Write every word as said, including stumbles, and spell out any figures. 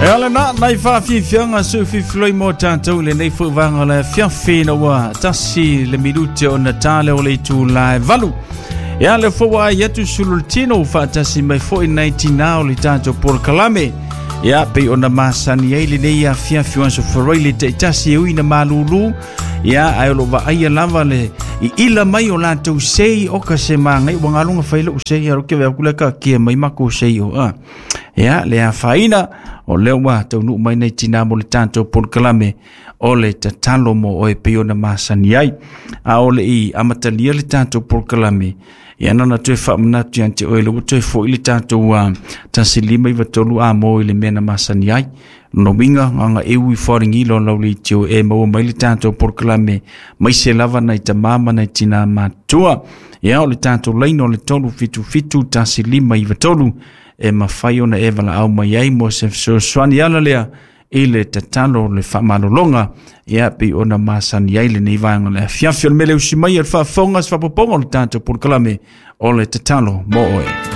E ala na nai whaafifianga su fifiloi mo tātou le nei fuivanga le fiafi na ua tasi le minute o na tāle o le itu lae valu. E ale fua ai atu sulultino whaatasi mai foi nei tina o le tātou porokalame. Ia pei ona masani ai lenei afiafi o aso farai le taitasi e ui na malūlū. Ia ae o lo vaaia lava le i ila mai o latou sei o ka se magai ua galuga fai lou sei alo ke vea kule ka kia mai makou sei o a. Ia le afaina o lea ua taunuu mai nei tinā mo le tatou polokalame o le tatalo mo oe pei ona masani ai. A o le i amatalia le tatou polokalame, ia na na toe faamanatu ia te oe le ua toe fo'i le tatou uh, tasi lima iva tolu a mo i le mea na masani ai. Lona uiga gaga eu i faaligilo lau leitio e maua mai le tatou polokalame mai se lava nai tamā ma nai tinā matua. Ia o le tatou laina o le tolu fitu fitu tasi lima iva tolu e mafai ona e valaau mai ai mo se fesoasoani ala lea i le tatalo le faamalologa ia pei ona masani ai lenei vaega o le afiafi. O le mea le usi mai e le faafofoga se faapopoga o le tatou polokalame o le tatalo mo oe.